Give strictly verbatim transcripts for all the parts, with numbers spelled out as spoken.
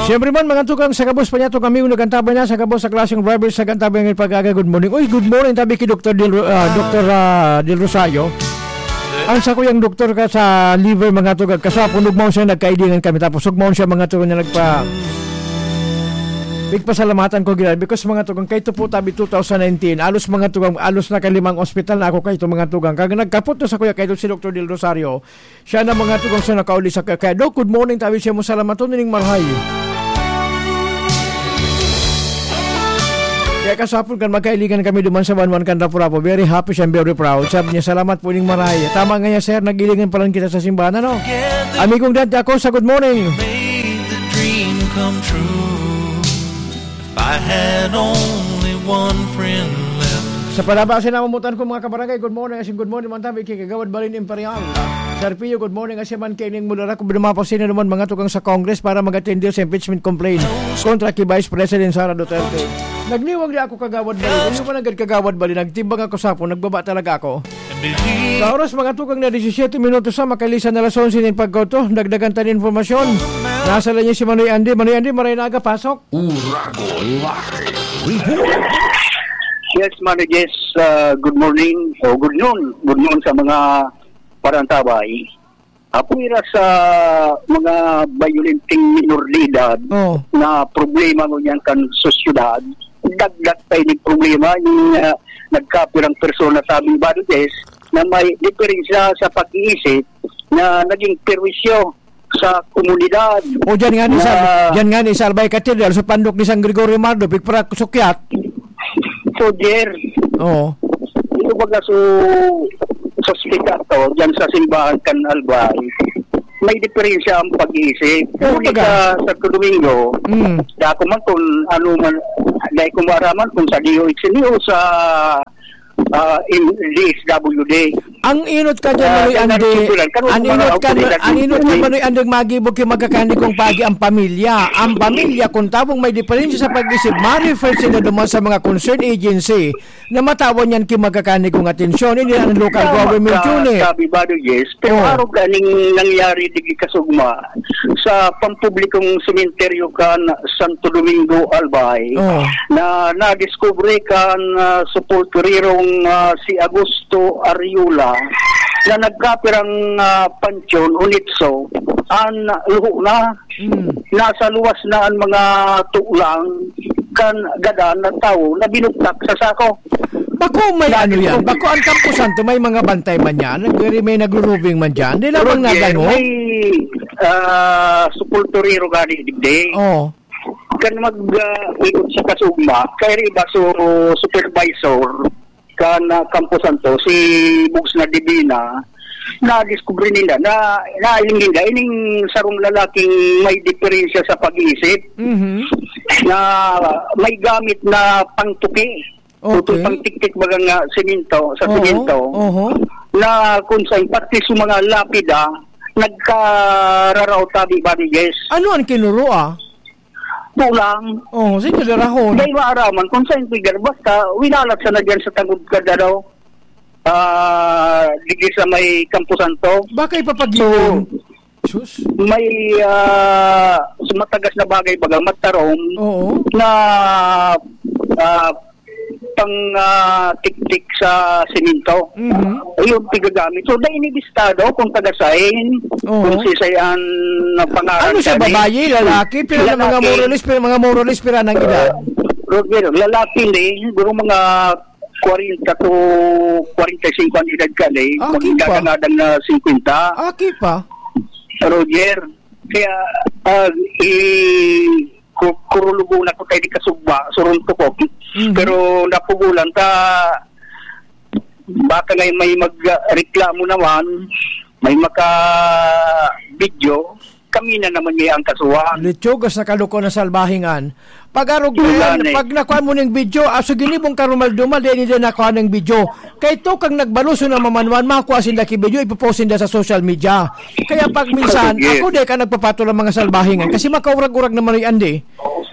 Siyempre man, mga tugang, sa gabos pa niya, itong aming nagantabay na, sa gabos sa klaseng drivers, sa gantabay ng pag-aga, good morning. Uy, good morning, tabi kay Doktor Del, ah, Doktor, ah, Del Rosario. Ang sa kuyang doktor ka sa liver, mga tugang, kasapon, ugmaon siya, nagkailingan kami. Tapos, ugmaon siya, mga tugang, na nagpa-, pigpasalamatan ko, gila. Because, mga tugang, kay ito po, tabi two thousand nineteen, alos, mga tugang, alos na kalimang ospital na ako kay ito, mga tugang. Kag nagkapot na sa kuya, kay ito si Doktor Del Rosario, siya na, mga tugang, sa nakauli sa kaya. Doc, good morning, tabi siya mo, salamaton, ning marahay. Kaya kasapon kan magkailigan kami duman sa Banwan kan Rapu-Rapu. Very happy siya, very proud. Sabi niya, "Salamat po ning marahay." Tama nga niya, sir, nag-ilingan pa lang kita sa simbahan, ano? Amigong Dante Acosta, good morning. Made the dream come true. If I had only one friend left. Sa palabas, sinamutan ko, mga kabarangay, good morning, asin good morning, man tabi, kay Kagawad Balin Imperial. Sir Pio, good morning, asin man kay Ning Mulara, kung binumapos sino naman, mga tugang sa Congress para mag-attend sa impeachment complaint kontra kay Vice President Sara Duterte. Nagniwang di ako, Kagawad Balin. Hindi man agad, Kagawad Balin. Nagtimbang ako sa hapon, nagbaba talaga ako. Sa oras, mga tugang, na disisyete minutos sa makalisan na alas onse nin pagkauto, dagdagan ta nin impormasyon. Nasa linya si Manoy Andy. Manoy Andy, maray na aga, pasok. Uragon Live Report. Yes, Manoy Jess, ah, good morning o good noon. Good noon sa mga parantabay. Apwera sa mga bayolenteng minor de edad Oh. na problema ngunyan kan sosyedad, dagdag pa ini problema ni, ah, nagkapirang persona sa aming barangay na may diferensya sa pag-iisip na naging perwisyo sa komunidad. O, dyan nga ni sa, Na dyan nga ni sa Albay Cathedral, sa pandok ni San Gregorio Mardo, pigpara sukyat. So, Jer, Oo. ito baga so, sa ospital to, dyan sa simbahan kan Albay, may diferensya ang pag-iisip. Ano Ngunit baga? sa Santo Domingo, Mm. dako man kung ano man, dahil kung maraman kung sa D O H ni o sa, ah, in, D S W D. Ang inot ka dyan, Ah, Manoy kaya Andy, narusugulan. Kano ang mga inot ka, otoridad ang inot ka, dyan? Manoy Andy, magibog yung magkakani kung pagi ang pamilya. Ang pamilya, kung tabong may diferensya sa pag-isip, ma-refer sila duman sa mga concerned agency na matawan yan ki magkakani kong atensyon. Hindi ang local Tama government ka, unit. Sabi ba, Yes? Pero Oh. arog kaning nangyari digdi kasugma sa pampublikong sementeryo kan Santo Domingo, Albay, Oh. na nadiskubre kan, ah, sepulturirong, ah, si Augusto Ariola na nagkapirang, ah, pansyon o nitso, an luho na. Mm. Nasa luwas na an mga tulang kan gadan na tawo na binugtak sa sako. Bako may Dati ano yan? po. Bako ang Campo Santo, may mga bantay man yan? Nag-, may nagro-roving man dyan? Di lamang Roger, nadangog? may, ah, sepulturero gani, digdi. Oo. Kan mag, ah, ikot sa kasugma, kay iba so supervisor, kan, ah, Campo Santo, si Bugs na Divina, nadiskubre nila na, nailing nila, ining sarong lalaking may diferensya sa pag-iisip, Mhm. na may gamit na pangtuki, Okay. putol pangtiktik, baga nga, semento, sa Oo, semento, oho. na kung saan, pati sa mga lapida, nagkararaot tabi ba ni Jess? Ano ang kinuro, ah? Tulang. Oh, sige, darahon. Dahil maaraman kung saan pigar, basta winalat sa nagyan sa tangod ka daw. Ah, digdi sa may Campo Santo. Baka ipapagilin. So, Sus. may, ah, sa matagas na bagay, baga matarom Oo. na, ah, pang, ah, tiktik sa semento. Mhm. Ayun, pigagamit. So, dahil inibistado kung taga-sign, Oo. kung si Sayan na pangalan Ano siya, kami. babae, lalaki? Pero na mga Lalaki. moralis, pero mga moralis, pero anong edad? Roger, lalaki ni, siguro mga kwarenta to kwarenta y cinco ang edad ka ni, Ah, okay pa. magdadangadang na singkwenta. Ah, okay pa. Roger, kaya, ah, i-, ku-, kurulubo na ko tayo di kasugba, surunto ko. Mhm. Pero napugulan ta, baka ngay may mag-, ah, reklamo naman, may maka-video, kami na naman ngay ang kasuhan. Litsugas na kaluko na salbahingan. Pag-arog Yun yan, lang eh. pag nakuha mo ning video, aso ginibong karumal-dumal, di nila nakuha ng video. Kay to kang nagbaluso na mamanuan, makuha sinda ki video, ipopost sinda sa social media. Kaya pag minsan, Sige. ako di ka nagpapatol ang mga salbahingan kasi makaurag-urag naman yung andi.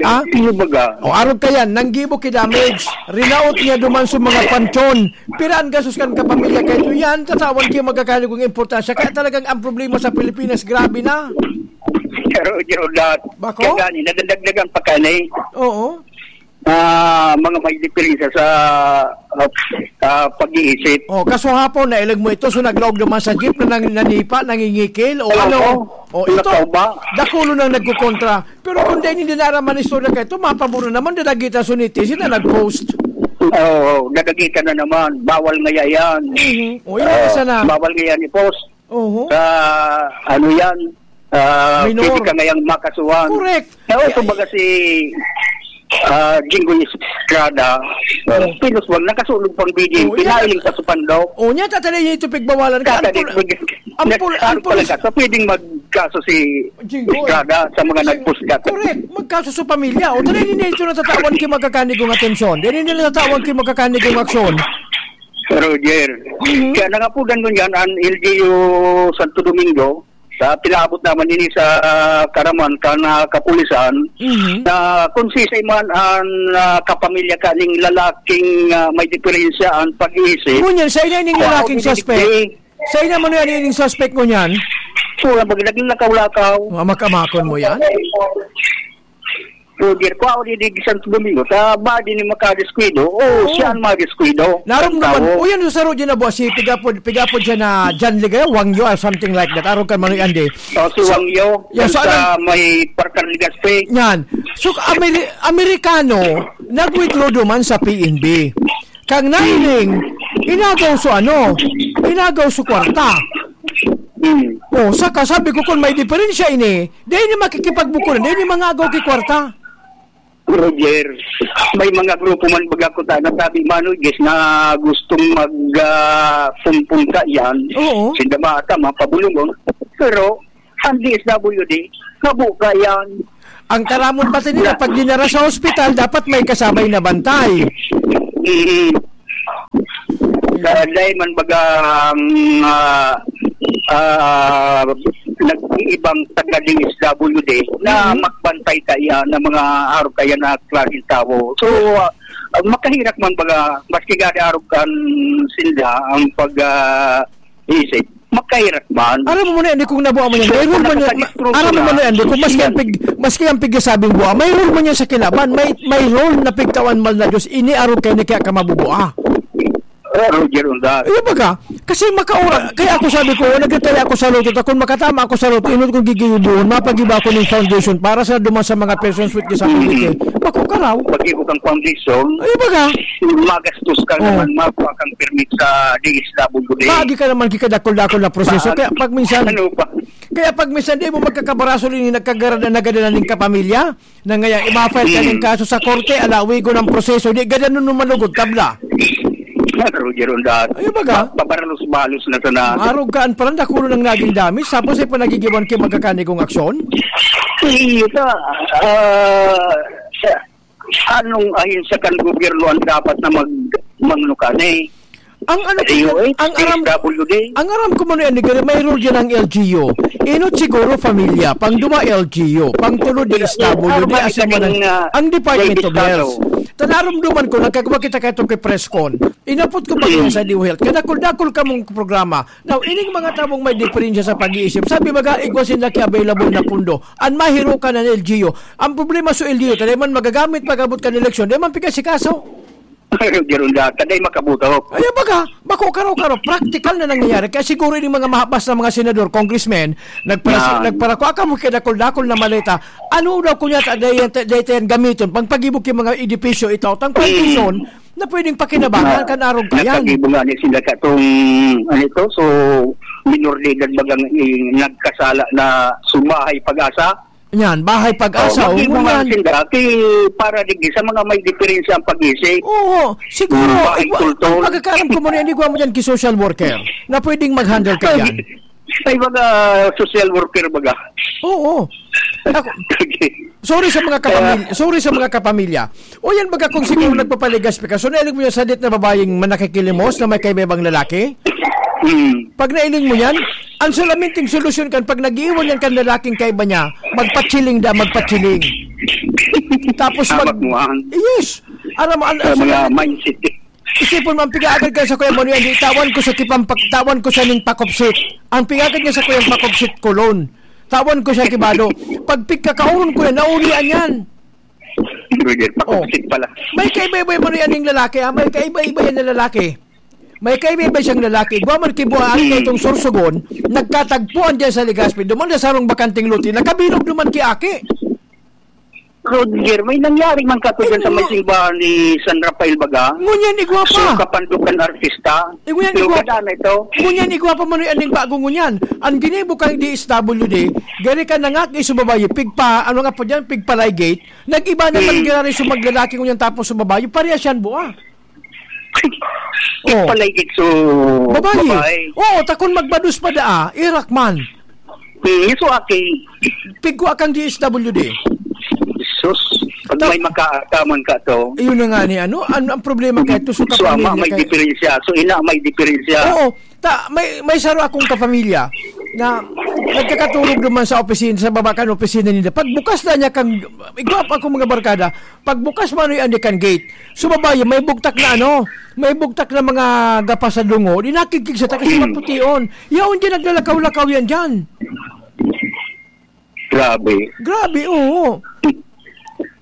Ah? Sino baga? O, arog ka yan, nanggibo ki damage, rinaot niya duman sa mga panchon. Piraan gasos kan kapamilya kay ito yan, tatawan kayo magkakaligong importansya. Kaya talagang ang problema sa Pilipinas, grabe na. Roger Odat. Bako? Kaya gani, nadadagdagan pa ka na eh. Oo. Ah, mga may diferensya sa, ah, ah, pag-iisip. Oh, kaso hapon, nailag mo ito, so naglaog naman sa jeep na nang-, nanipa, nangingikil, o Oo. ano? O ito, Nakauba. dakulo nang nagkukontra. Pero kung dahil hindi naraman istorya ka ito, mapaburo naman, dadagitan so netizen na nag-post. Oo, dadagitan na naman. Bawal ngaya yan. Mhm. O, yun ang Ah, isa na. bawal ngaya ni post. Oho. Sa, ano yan, ah, Minor. pwede ka ngayang makasuhan. Correct. Kaya Yeah. kumbaga si, ah, Jinggoy Estrada, Oh. pinuswag, nakasulog pang bidin, Oh, yeah. pinailing pa sa pandok. Oh, niya, tatali niya ito pigbawalan ka. Tatali, Ampul-, mag-, ampul-, nag-, ampul-, ampul-, ka. So, pwedeng magkaso si Jinggoy. Estrada sa mga Jing-, nagpusgat. Correct. Magkaso sa pamilya. O, tatali niya ito natatawan ki magkakanigong atensyon. Dili nila natatawan ki magkakanigong aksyon. Roger. Mhm. Kaya nangapudan ko niyan, ang L G U Santo Domingo, sa pinaabot naman ini sa, ah, Karaman, kan, ah, kapulisan, Mhm. na kung sisay man ang, ah, kapamilya kaning lalaking, ah, may diferensya ang pag-iisip, Ngunyan, sa ina ining kung lalaking ako suspect? Sa ina mo na yan, ining suspect mo niyan? Wala, mag-, naglakaw-lakaw. Mga makamakon mo yan? Roger, kung ako di, di Santo Domingo, sa body ni Makadiskuido, o Oo. siya ang madiskuido. Naramdaman, Tao. o yan, sa Roger na buwas, si pigapod, pigapod siya na John Ligaya, Wang Yo, or something like that. Araw ka, Manoy Andy. O, si So, Wang Yo, yeah, yan so, sa ano, may Parker Legaspi. Yan. So, Ameri-, Amerikano, nag-withdraw duman sa P N B. Kang nailing, inagaw so ano, inagaw so kwarta. Hmm. O, saka sabi ko, kung may diferensya ini, di ini makikipagbukulan, di ini mangagaw ki kwarta. Roger, may mga grupo man baga ko ta, nasabi, Manoy, guys, na gustong mag, ah, pumpunta yan. Oo. Sinda bata, mapabulungon. Pero, ang D S W D, kabuka yan. Ang taramon pati nila, pag dinara sa ospital, dapat may kasabay na bantay. Mm. Kaya dahil man baga, um, ah, ah, nag-iibang taga D S W D na Mhm. magbantay kaya ng mga araw kaya na klaseng tao. So, ah, makahirak man baga, maski gada araw kan sinda ang pag, ah, isip, makahirak man. Aram mo na, Andy, kung nabuha mo yan, So, may rule kung man yan, nakakadisturbo aram mo na, na Andy, kung maski yan. ang pig-, maski ang pigsasabing buha, may rule man yan sa kilaban, may, may rule na pigtawan mal na Diyos, ini arog kayo ni kaya ka mabubuha. Ah, Roger Undas. Iyo baga, kasi makaura, kaya ako sabi ko, nagtataya ako sa loto, ta kung makatama ako sa loto, inot kong gigibuhon, mapagiba ako ng foundation para sa duman sa mga persons with disability. Mm. Bako ka raw. Pag-ibo kang foundation, Iyo baga. magastos ka Oh. naman, makuha kang permit sa D S W D. Lagi ka naman kikadakol-dakol na proseso. Saan? Kaya pag minsan, Ano pa? kaya pag minsan, di mo magkakabaraso rin yung nagkagara na nagadalan ng kapamilya, na ngayon, ima-file ka ng Hmm. kaso sa korte, alawi ko ng proseso, di gadanon mo malugod, tabla. Roger Ondas. Ay, baga? Pa-, pabalos-balos na sana. Arog ka, ang parang dakulo ng naging damis, tapos ay panagigiwan kayo magkakanigong aksyon? Iyo ta, ah, sa, anong ahensya kan gobyerno ang dapat na mag-, mangnukan eh? Ang ano ko, Ay, ang aram, D S W D. ang aram ko man yan, may role dyan ang L G U. Inot siguro, pamilya. Pang duwa, L G U. Pang tulo, Pero, D S W D. pero Asin man ang, ah, ang Department of Estado. Health. Tanarumduman ko, nagkagwa kita kayo kay press con. Inapot ko pa Hmm. sa D O Health. Kaya dakol-dakol ka mong programa. Now, ining mga tabong may diferensya sa pag-iisip. Sabi baga, igwa sila ki available na pundo. Ang mahiro ka na ng L G U. Ang problema sa L G U, tayo man magagamit pag-abot ka ng eleksyon, di man pikas si kaso. Pero, Gerunda, taday makabuto. Ay, baga, bako karo-karo, practical na nangyayari. Kaya siguro yung mga mahabas na mga senador, congressmen, nagpara-, Yan. nagparako, aka mo kaya dakol-dakol na maleta. Ano daw kunya ta, day, day, day, gamiton, pang pag-ibog yung mga edipisyo, ito, tang Hmm. condition na pwedeng pakinabangan Na, kan arog kayan. Nakagibo nga ni sila katong, ano ito, so, minor de edad bagang, eh, nagkasala na sumahay pag-asa. Yan, bahay pag-asa, Oh, o mag-ibo nga ngunyan. sila, kay para digdi sa mga may diferensya ang pag-isip. Oo, siguro, Hmm, bahay igwa-, kultol. ang pagkakaalam ko mo na, igwa mo dyan kay social worker na pwedeng mag-handle ka Ay, dyan. ay, mga social worker baga. Oo. Ako, Sige. sorry sa mga kapamilya, Kaya sorry sa mga kapamilya. O yan baga kung siguro Hmm. nagpapaligas ka, so nailig mo yung sadit na babayeng manakikilimos na may kaibang lalaki? Hmm. Pag nailing mo yan, ang solamente solusyon kan pag nag-iiwan yan kan lalaking kaiba niya, magpachiling da, magpachiling. Tapos mag- Amat mo, ah. Yes. Alam mo, ang, Sa ang mga solamente mindset. Isipon mo, ang pigaagad ka sa Kuya Manuel, di tawan ko sa kipang pag-, tawan ko sa ning pakopsit. Ang pigaagad niya sa Kuya pakopsit, kulon. Tawan ko siya kibado. Pag pigkakaoron ko yan, naulian yan. Roger, Oh. pakupsit pala. May kaiba-iba man yan yung lalaki, ha? May kaiba-iba yan na lalaki. May kaiba-iba siyang lalaki. Igwa man kibuha Hmm. itong Sorsogon, nagkatagpuan dyan sa Legazpi. Duman na sarong bakanteng lote, nakabilog duman ki aki. Roger, may nangyari man kato dyan sa may Igwa. simbahan ni San Rafael baga. Ngunyan, igwa So, pa. kapandukan artista. Igwa yan, Pero igwa. kada na ito. Ngunyan, igwa pa man yung aning bago ngunyan. Ang ginibo kang D S W D, gari ka nangak, iso babae, pigpa, ano nga po dyan, pigpalaygate. Nag-iba naman Hmm. gari sa maglalaki ngunyan tapos sa babae. Parehas yan, buha. Oh. Palaygit so Babae. babae. Oo, takon magbados pa daa, irak man. Hmm, so aki. Pigkua kang D S W D. Sus, pag Ta- may makaataman ka to. Ayun na nga ni ano, ano ang problema kay ito sa So ama, kapamilya may kay diferensya. So ina, may diferensya. Oo, ta, may, may saro akong kapamilya na nagkakaturog naman sa opisina, sa baba kan opisina nila. Pag bukas na niya kang, igwa pa akong mga barkada, pag bukas man yung andi kan gate, so babae, may bugtak na ano, may bugtak na mga gapas sa dungo, di nakikig sa takas Hmm. magpution. Yaon dyan, naglalakaw-lakaw yan dyan. Grabe. Grabe, oo.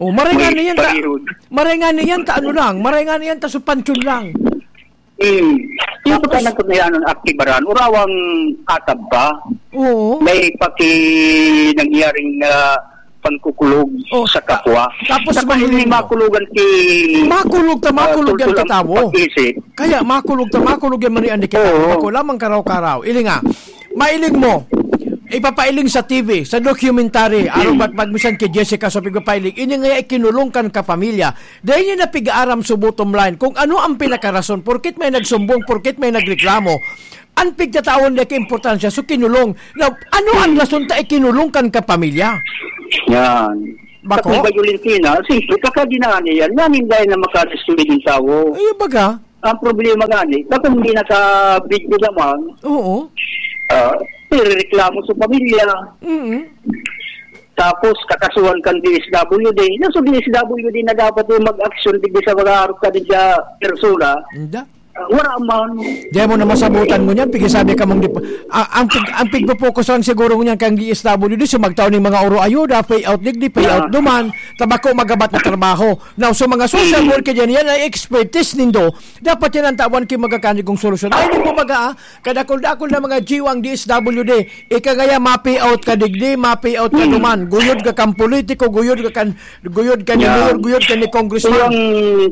Oh, maray nga May na yan, ta, parihod. maray nga na yan, ta ano lang, maray nga na yan, ta supansyon lang. Hmm. Yung Tapos pagka nagkakayaan ng aktibaran, urawang atab pa. Oo. May paki nangyaring, ah, pangkukulog Oh, sa ta-, kapwa. tapos Saka hindi mahiling mo. makulugan si, Makulog ta, ah, makulog yan tultol ang katawo. pag-isip. Kaya makulog ta, makulog yan, Maria Enriqueta. Oo. Bako lamang karaw-karaw. Ilinga, mailing mo. Ipapailing sa T V, sa documentary, arog Hmm. bat magmisan kay Jessica, so pigpapailing. Ini nga ikinulong kan kapamilya. Dahil niya napig-aaram sa bottom line kung ano ang pinakarason, porkit may nagsumbong, porkit may nagreklamo. Ang pigtatawan niya kaimportansya, so kinulong. Now, ano ang Hmm. rason ta ikinulong kan kapamilya? Yan. Bako? Sa kung Violentina, siyempre, kakadinaan niya yan. Yan yung dahil na makadestroy yung tawo. Ay, baga? Ang problema gani, na kung hindi naka-video naman, Oo. ah, irereklamo sa pamilya. Mm. Tapos, kakasuhan kang D S W D. Yan sa D S W D na dapat yung mag-action digdi sa mga arog ka din sa persona. Hindi. Ah, wala man. Di mo na masabutan mo niyan, pigisabi ka mong di pa. Ah, ang pig-, ang pigpopokusan siguro niyan kang D S W D, so magtao ning mga oro ayuda, pay out digdi, pay out Yeah. duman, tabako magabat na trabaho. Now, so mga social Hmm. worker yan, yan ay expertise nindo. Dapat yan ang tawan ki magkakanig kong solusyon. Ay, di po baga, ah, kadakol-dakol na mga jiwang D S W D. Ika ngaya, ma-pay out ka digdi, ma-pay out ka Hmm. duman. Guyod ka kang politiko, guyod ka kan, guyod ka ni Yeah. mayor, guyod ka ni congressman. Yung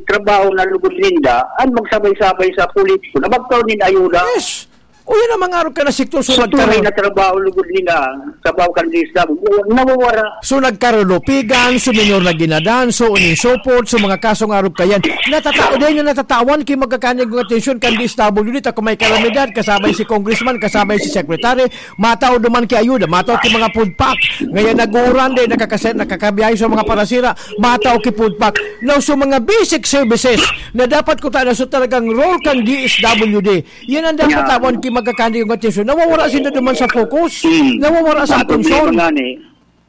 trabaho na lugod ninda, ang magsabay-sabay sa politiko na magkaroon din ayuda. Yes. O yan ang mga arog ka na sektor, so Sa tunay nagkaroon. na trabaho lugod ninda, trabaho kan D S W, nawawara. So nagkarulopigan, so minor na ginadan, so uning support, so mga kasong arog ka yan. Natatao din yung natatawan, ki magkakanig ng atensyon kan D S W D, ta kung may kalamidad, kasabay si congressman, kasabay si secretary, matao duman ki ayuda, matao ki mga food pack. Ngayon, naguran din, nakakase-, nakakabiyahe sa mga parasira, matao ki food pack. Now, so mga basic services na dapat ko tayo so talagang role kan D S W D. Yan ang dapat Yeah. tawan ki magkakanig ng atensyon. Nawawara sila duman sa focus. Hmm. Nawawara sa Ang problema atensyon. nga ni,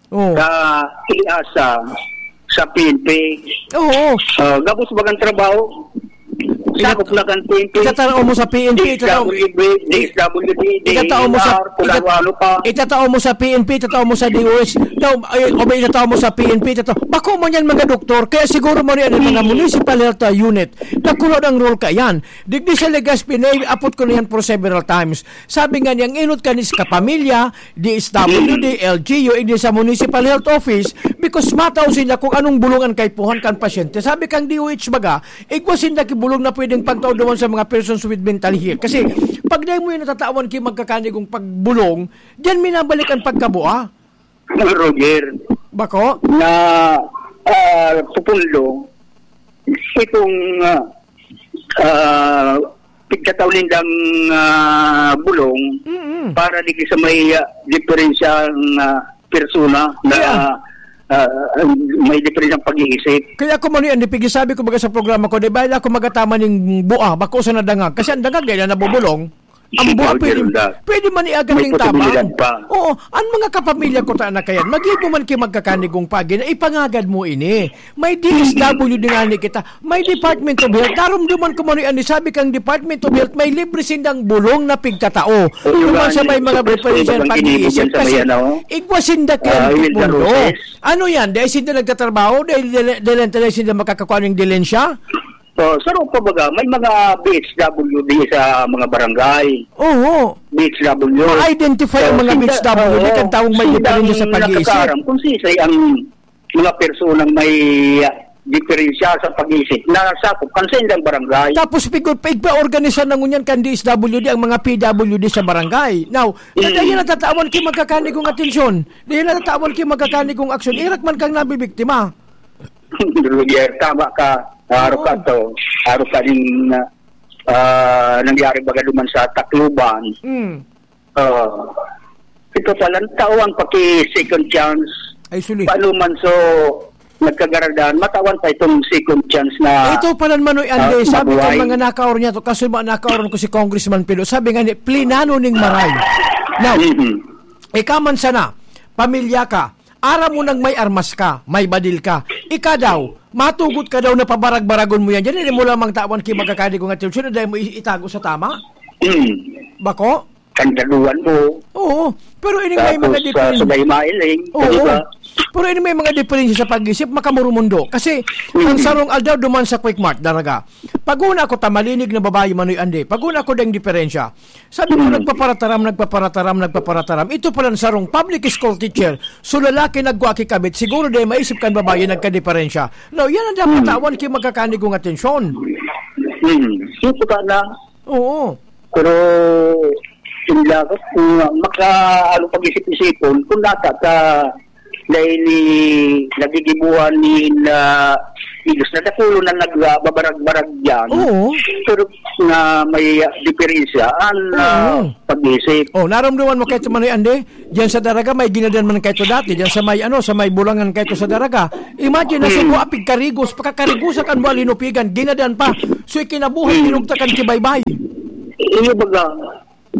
Oh. sa asa, sa P N P. Oo. Ah, gabos bagang trabaho. Itat-, Sakop na kan P N P. itatao mo sa P N P, itatao, D S W D, D S W D, itatao mo sa, D E R, kung itat-, ano-ano pa. itatao mo sa P N P, itatao mo sa D O H. Daw, ay, o ba itatao mo sa P N P, itatao. Bako man yan, mga doktor. Kaya siguro mo rin ang mga Hmm. municipal health, uh, unit. Nakulo ng role ka yan. Digdi sa Legazpi, apot ko na yan for several times. Sabi nga niya, ang inot kanis kapamilya, D S W D, L G U, hindi sa Municipal Health Office, because matao sila kung anong bulong ang kaipuhan kan pasyente. Sabi kang D O H baga, igwa sinda ki bulong na pwedeng pagtao duman sa mga persons with mental health. Kasi, pag dahil mo yung natatawan ki magkakanigong pagbulong, diyan minabalik ang pagkabua. Roger, Bako? na, ah, pupundo, itong, ah, ah, pigkataw nindang, ah, bulong Mm-mm. para di sa may, ah, diferensyang, ah, persona na, Yeah. ah, may diferensyang pag-iisip. Kaya ako man yan, di pigi sabi ko baga sa programa ko, di ba, ako magataman yung bua, bako sa nadangag. Kasi ang dangag, di na nabubulong. Ambo, pwede, pwede man iagad ning tabang. May posibilidad pa. Oo, ang mga kapamilya ko ta na kayan, maghibo man ki magkakanigong pagi na ipangagad mo ini. May D S W din ani kita. May Department of Health. Narumduman ko man yan. Sabi kang Department of Health, may libre sindang bulong na pigkatao. Duman sa may mga preferential pag-iisip. Kasi igwa sinda kaya mundo. Ano yan? Dahil sinda nagtatrabaho? Dahil, dahil, dahil, dahil sinda makakakuha ng dilensya? So, saro pa baga, may mga B H W D sa mga barangay. Oo. B H W. Ma-identify ang mga B H W D, kan taong may diferensya sa pag-iisip. Nakakaaram kung sisay ang mga personang may, ah, diferensya sa pag-iisip na sakop kan sa ilang barangay. Tapos, pigod pa, igpa-organisa na ngunyan kan D S W D ang mga P W D sa barangay. Now, mm, dahil natatawan ki magkakanigong atensyon, dahil natatawan ki magkakanigong aksyon, irak man kang nabibiktima. Roger, tama ka. Aro ka to. Aro ka din, ah, nangyari baga duman sa Tacloban. Mm. Ah, ito pala, tawan pa ki second chance. Ay, suli. Paano man so, nagkagaradan, matawan pa itong second chance na, ito pala, Manoy Andy, ah, sabi ko, mabuhay. Mga nakaor niya to, kaso ba nakaoron ko si Congressman Pilo, sabi nga ni, plinano ning maray. Now, mm-hmm, ikaw man sana, pamilya ka, aram mo nang may armas ka, may badil ka. Ika daw, matugot ka daw na pabarag-baragon mo yan. Diyan, hindi mo lamang tawan ki magkakadi kung atensyon na dahil mo i-, itago sa tama? Hmm. Bako? Kandaduan mo. Oo. Pero ini may mga, tapos, ah, diferensya. Sabay mailing, oo, di ba? Pero ini may mga diferensya sa pag-isip, makamurumundo. Kasi, mm, ang sarong aldaw duman sa Quick Mart, daraga. Pag una ako, tamalinig na babae, Manoy Andy. Pag una ako, dang diferensya. Sabi ko, hmm, nagpaparataram, nagpaparataram, nagpaparataram. Ito pala ang sarong public school teacher. So, lalaki nagkua ki kabit. Siguro di maisip kan babae nagkadiperensya. Now, yan ang dapat, hmm, tawan ki magkakanigong atensyon. Hmm. Yung puta na. Oo. Pero, hindi ako, kung maka, ano, pag-isip-isipon, kung nata ka, dahil ni, nagigibuhan ni na, Ilos na dakulo na nagbabarag-barag diyan. Oo. Pero na may, ah, diferensya ang, ah, oo, pag-isip. Oh, naramdaman mo kaito, Manoy Andy? Diyan sa Daraga, may ginadan man kaito dati. Diyan sa may, ano, sa may Bulangan kaito sa Daraga. Imagine, na, hmm, Cebu, apig karigos, pagkakarigosa kan buwan, linupigan, ginadan pa. So, ikinabuhay, hmm, pinugtakan ki baybay. Iyo baga.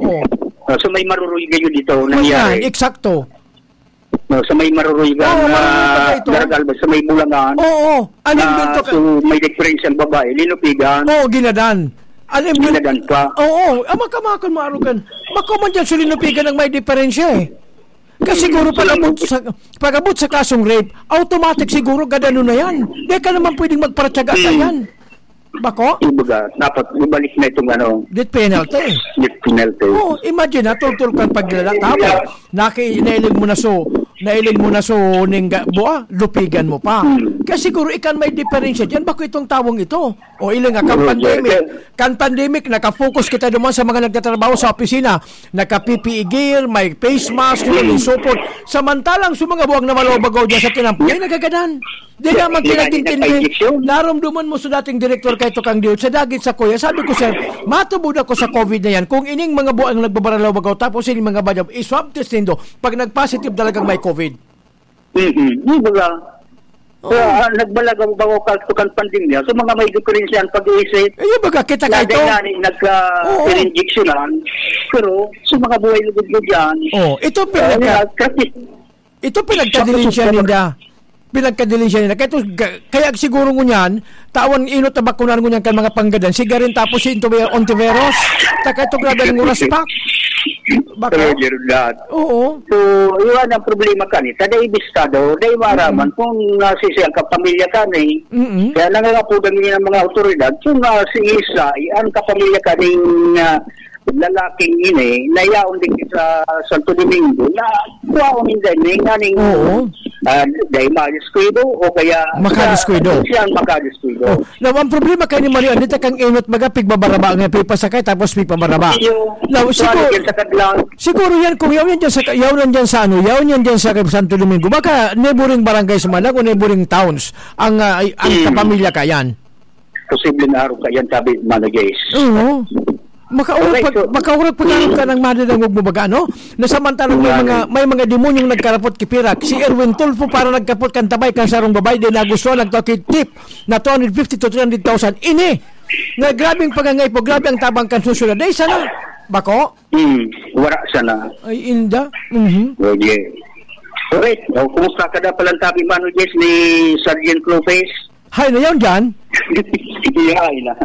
Oh. Ah, so, may maruruy kayo dito, oh, nangyari. Yan, eksakto. No, sa may Maruruygan, oo, na Maruruygan ito. Daraga, sa may Bulangan. Oo, oo. Alam na, doon to ka- so, may diferensyang babae, linupigan. Oo, ginadan. Alam doon. Ginadan pa. Oo, oo. Ama ka, mga kan, maarugan. Bako man dyan, so linupigan ang may diferensya eh. Kasi, hmm, siguro so, pag-abot sa, pag-abot sa kasong rape, automatic siguro gadano na yan. Di ka naman pwedeng magparatyaga sa, hmm, yan. Bako? Kumbaga, dapat ibalik na itong ano, death penalty. Death penalty. Oo, imagine, ha, tultul kang paglala. Tapos, naki-, nailing mo na so, nailing mo na so, ning ga-, bua, lupigan mo pa. Hmm. Kaya siguro, ikan may diferensya dyan, bako itong tawong ito. O, iling nga, kan, oo, pandemic, sir, kan pandemic, nakafocus kita duman sa mga nagtatrabaho sa opisina. Naka-P P E gear, may face mask, hmm, and so forth. Samantalang sa mga buwag na malobagaw dyan sa tinampo, ay nagagadan. Di naman kinagintindi. Narumduman mo sa dating direktor kay Tukang Diyo, sa dagit sa kuya. Sabi ko, "Sir, matubod ako sa COVID na yan. Kung ining mga buang nagbabaralaw-bagaw, tapos ining mga badaw, i-swab test nindo. Pag nag-positive talagang may COVID." Mm-mm. Di ba? Oo. Kaya, ah, nagbalagaw-bagaw ka sa kan pandemya. So, mga may diferensya ang pag-iisip. Eh, yung baga, kita ka ito? Dati nga, nagka-, oo, injection lang. Pero, sa mga buhay lugod ko dyan, oh, ito, ah, pinagka-, yun nga, kasi ito pinagkadilensya ninda. Pinagkadilensya ninda. Kaya ito, ga-, kaya siguro ngunyan, tawan inot na bakunan ngunyan kan mga panggadan. Sigarin tapos si Ontiveros. Taka ito, grabe ang oras pa. Bako? Pero, Gerald, oo. So, iwan ang problema ka ni. Kada ibistado, dahil maaraman, mm-mm, kung nasisi ang kapamilya ka ni. Mm-mm. Kaya nangangapudan niya ng mga otoridad, kung, ah, si Isa, ang kapamilya ka ni, ah, lalaking ini, na yaon din sa Santo Domingo, na kuhaon din din, nganing, oo, ah, dahil madiskuido o kaya makadiskuido. Siya ang makadiskuido. Oh, now, ang problema kay ni Mario, andito kang inot, baga, pigbabaraba nga, pipasakay, tapos pipabaraba. Iyo, now, siguro, yan sa Kadlaw. Siguro yan, kung yaw yan dyan sa, yaw yan dyan sa, ano, yaw yan dyan sa Santo Domingo, baka neighboring barangays man lang o neighboring towns ang, ah, ay, ang, hmm, kapamilya ka yan. Posibleng araw ka yan, sabi, Mano Jace. Oo. Makaurag pag, so, makaurag pag araw ka ng madadangog mo baga, no? Na samantalang may mga, may mga demonyong nagkarapot ki Pirak. Si Erwin Tulfo para nagkapot kan tabay kan sarong babay, di nagustuhan, nagtao ki tip na two hundred fifty to three hundred thousand. Ini! Nga grabeng pagangay po, grabe ang tabang kan susunod. Dahil sana, Bako? Hmm, wala sana. Ay, inda. Mhm. Roger. Alright. O, kumusta ka na palang tabi, Mano Jess, ni Sergeant Lopez? Hay, na yun dyan? Iya, ay na.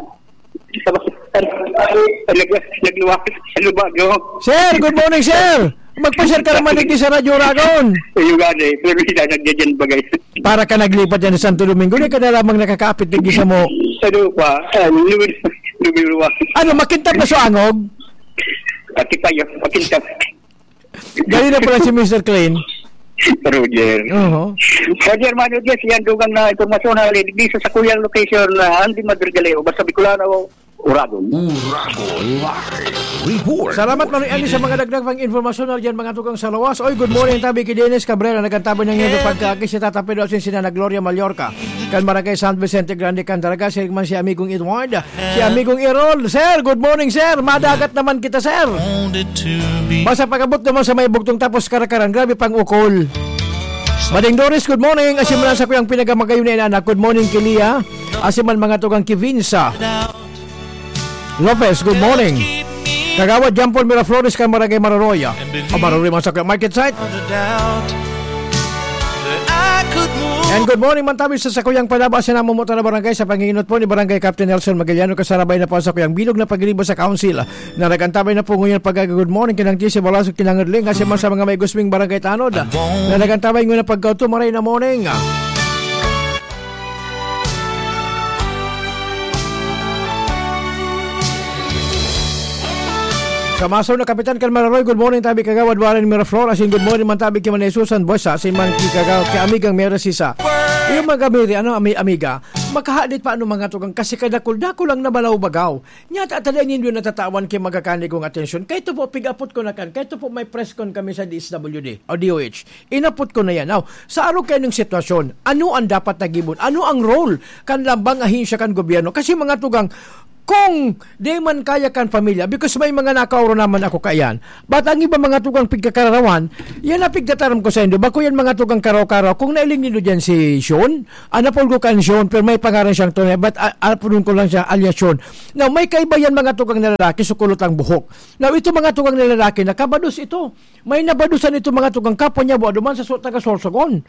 Nag-, nagluwag. Ano ba, no? Sir, good morning, sir. Magpa-share ka naman digdi sa Radyo Oragon. Ayun nga, eh. Pero hindi na, nandiyan bagay. Para ka naglipat dyan sa Santo Domingo, di ka na lamang nakakaapit digdi sa mo. Ano pa? Ah, lumi-, lumiluwag. Ano, makintab na so angog? Ati pa yun, makintab. Dali na pala si Mister Klein. Roger. Oho. Roger, Mano Jess, yan dugang na impormasyon na digdi sa sakuyang location na Andy Madrigaleo, basta Bicolano, Uragon. Uragon Live Report. Salamat, Manoy Ali, sa mga dagdag pang impormasyon na dyan, mga tugang sa lawas. Oy, good morning, tabi ki Dennis Cabrera, nagkantabi ng iyong pagkaagi si Tata Pedro at si Nana Gloria Mallorca. Kan Barangay San Vicente Grande, Candaraga, si man si Amigong Edward, si Amigong Errol. Sir, good morning, sir. Madagat naman kita, sir. Basta pag-abot naman sa may bugtong tapos karakaran, grabe pang ukol. Mading Doris, good morning. Asin man sa kuyang pinagamagayon na inanak. Good morning, Kilia. Asin man mga tugang Kivinsa. Lopez, good morning. Kagawad Jean Paul Miraflores kan Barangay Mararoy. O Mararoy man sa Market Site. And good morning man tabi sa sakuyang panaba sa namumutan na barangay sa panginginot po ni Barangay Captain Nelson Magaliano, kasarabay na po sa kuyang bilog na pagribo sa council na nagantabay na po ngayon pag good morning kinang T C Balasog kinang Erling kasi man sa mga may gusming barangay tanod na nagantabay ngayon ang pagkauto maray na morning. Sa masaw na kapitan kan Mararoy, good morning tabi kagawad Warren Miraflor, asin good morning man tabi ki Manay Susan Buesa, asin man ki kagaw-, ki amigang Mary Sisa. Yung mga Mary, ano, ami-, amiga, makahadit pa ano mga tugang kasi kadakul-dakul lang na malaw-bagaw. Nya ta, ta dai nindo natatawan ki magkakanigong atensyon. Kay ito po, pig-apot ko na kan, kay ito po may press con kami sa D S W D o D O H. Inapot ko na yan. Now, sa arog kayo ng sitwasyon, ano ang dapat na gibo? Ano ang role kan lambang ahensya kan gobyerno? Kasi mga tugang, kung di man kaya kan pamilya, because may mga nakaoro naman ako kaiyan, but ang iba mga tugang pigkakararawan, yan ang pigtataram ko sa indo. Bako yan mga tugang karaw-karaw. Kung nailing nindo dyan si Sean, anapol ko kan Sean, pero may pangaran siyang tunay, but a-, apodon ko lang siya, alias Sean. Now, may kaiba yan mga tugang na lalaki, sukulot ang buhok. Now, ito mga tugang na lalaki, nakabados ito. May nabadusan ito mga tugang kapwa niya, buwa duman sa so-, taga Sorsogon.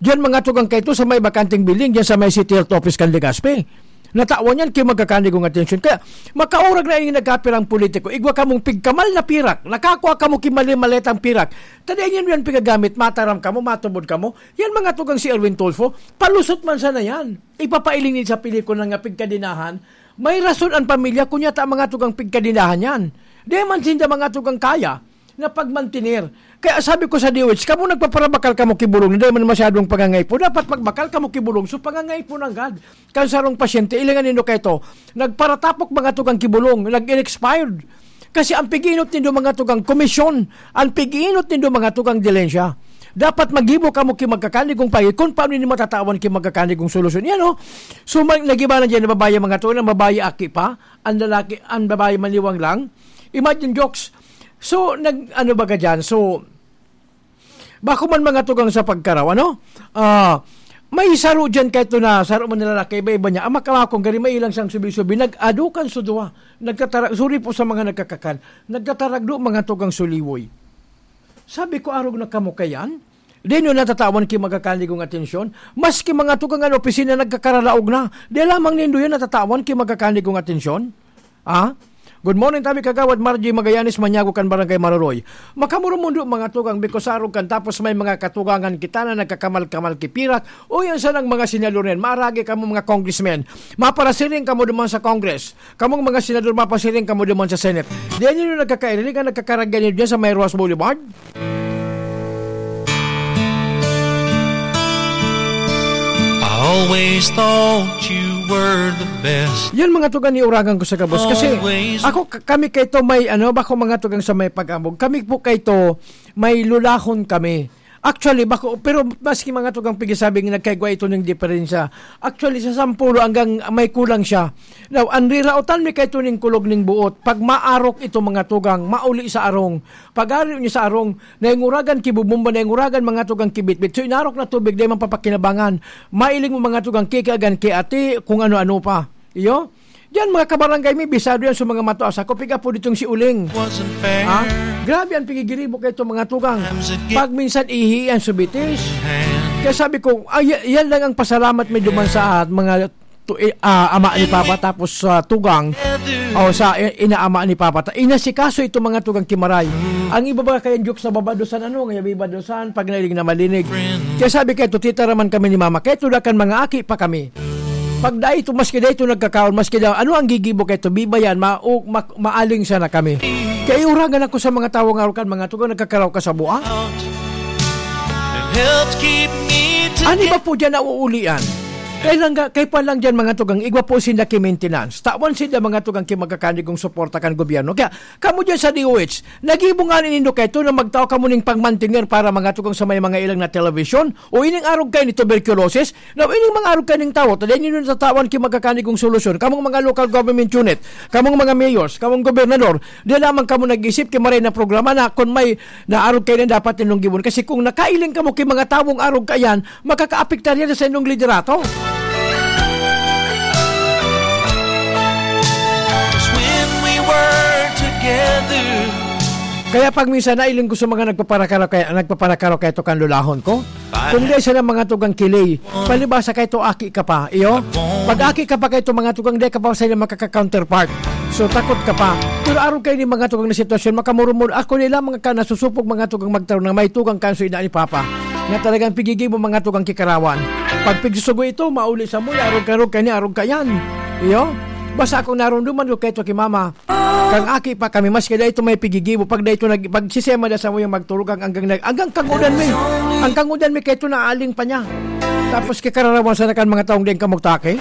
Diyan mga tugang kaito sa may bakanteng building, diyan sa may City Health Office kan Legazpi. Natawan yan kay magkakanigong atensyon. Kaya makaurag na yung nagkapirang politiko, igwa kamong pigkamal na pirak, nakakwa kamo ki mali-maletang pirak. Tadi yan yan pigagamit, mataram kamo, matubod kamo. Yan mga tugang si Erwin Tulfo, palusot man sana yan. Ipapailing ni sa pelikula nga pigkadinahan. May rason ang pamilya, kunya ta mga tugang pigkadinahan yan. Di man sinda mga tugang kaya na pagmantener. Kaya sabi ko sa D O H, "Kamo nagpaparabakal kamo ki bulong, na dai man masyadong pangangaypo. Dapat magbakal kamo ki bulong, so pangangaypo nanggad kan sarong pasyente." Ilingan nindo kay to, nagparatapok mga tugang ki bulong, nag-expired. Kasi ang pig-inot nindo mga tugang komisyon, ang pig-inot nindo mga tugang dilensya. Dapat magibo kamo ki magkakanigong pagi, kung paano ni matatawan ki magkakanigong solusyon. Yan, oh. So, mag-, nagiba na dyan, na babae mga tugang, na babae aki pa, ang lalaki, ang babae maniwang lang. Imagine, jokes. So, nag, ano ba ka dyan? So, bako man mga tugang sa pagkaraw, ano? Ah, may saro dyan kahit na saro man na lalaki, iba-iba niya. Ang makamakong gari, may ilang siyang subi-subi. Nag-adukan sa duwa. Nagkatara-, sorry po sa mga nagkakakan. Nagkataragdo mga tugang suliwoy. Sabi ko, "Arog na kamo kayan? Di nyo natatawan ki magkakanigong atensyon? Maski mga tugang an opisina nagkakaralaog na. Di lamang nindo yan natatawan ki magkakanigong atensyon?" Ah? Good morning, tabi kagawad Margie Magallanes, Maniago kan Barangay Maroroy. Makamurumundo mga tugang, because arog kan tapos may mga katugangan kita na nagkakamal-kamal kipirak. O yan sanang mga senador na yan. Maaragi kamo mga congressmen. Maparasiring kamo duman sa Congress. Kamong mga senador, mapasiring kamo duman sa Senate. Di nyo nagkakairiling ang nagkakaragyan nyo dyan sa may Rojas Boulevard? I always thought you were the best. Yan mga tugan ni uragan ko sa gabos. Kasi always. Ako, k-, kami kay to may, ano, bako mga tugang sa may pag-ambog. Kami po kay to may lulahon kami. Actually, bako, pero maski mga tugang pigisabing nagkaigwa ito ng diferensya. Actually, sa sampulo hanggang may kulang siya. Now, ang riraotan mi kay ito ning kulog ning buot. Pag maarok ito mga tugang, mauli sa arong. Pag-ari niya sa arong, nainguragan ki bubumba, nainguragan mga tugang kibitbit. So, inarok na tubig, dai man papakinabangan. Mailing mo mga tugang kikiagan, kiati, kung ano-ano pa. Iyo? Diyan, mga kabarangay, may bisado yan sa mga matua. Sa kupig apo ditong si Uling. Wasn't fair. Ha? Grabe ang pigigiribo kay itong mga tugang. Times it get Pag minsan ihi yan sa bitis. Hand. Kaya sabi ko, ay, yan lang ang pasalamat may duman sa at mga tu-, i-, ah, ama ni Papa, tapos sa tugang, o sa i-, inaama ni Papa. Ta-, inasikaso itong mga tugang kimaray. Ang iba ba kaya joke sa babadosan, ano, nga bibadosan, pag nailing na malinig. Kaya sabi kay to, titaraman kami ni Mama, kaya to dakan mga aki pa kami. Pag dai to, maski dai to nagkakaon, maski daw, ano ang gigibo kay to, bibayan, ma-, o, ma-, maaling sana kami. Kaya iuragan ako sa mga tawo nga arukan, mga tugang nagkakaraw ka sa buha. It helps keep me Ani together. Ba po dyan nauulian? Kaya lang ga-, kaya pa lang dyan, mga tugang, igwa po sinda ki maintenance. Tawan sinda, mga tugang, ki magkakanigong suporta kan gobyerno. Kaya, kamo dyan sa D O H, nagibo nga nindo kayo na magtao kamo ning pagmantener para, mga tugang, sa may mga ilang na television. O ining arog kayo ni tuberculosis, na ining mga arog kayo ning tawo, taday nindo natatawan ki magkakanigong solusyon. Kamong mga local government unit, kamong mga mayors, kamong gobernador, di lamang kamo nag-isip ki maray na programa na kung may naarog kayo na dapat ninyong gibon. Kasi kung nakailing kamo ki mga tawong arog kayan, makakaapektar yan sa inyong liderato. 'Cause when we were together. Kaya pag minsan nailing ko sa mga nagpaparakaraw kaya, nagpaparakaraw kaya to kan lulahon ko. Kung di sila mga tugang kilay, palibasa kay to aki ka pa, iyo? Pag aki ka pa kay to mga tugang, di ka pa sa ila makaka-counterpart. So, takot ka pa. Pero arog kayo ni mga tugang na sitwasyon, makamurumod. Ako nila mga ka nasusupog mga tugang magtarong na may tugang kanso ina ni Papa. Na talagang pigigibo mga tugang kikarawan. Pag pigsusugo ito, mauli sa muya, arog ka, arog ka ni, arog ka yan. Iyo? Basta akong narumduman ko kay to ki Mama. Kang aki pa kami, maski dai ito may pigigibo, pag dai ito nag-, pag sisema na sa muyang magturog ang anggang nag-, anggang kangudan mi. Ang kangudan mi kay ito naaling pa niya. Tapos kikararawan sa nakan mga taong dai kamugtaki.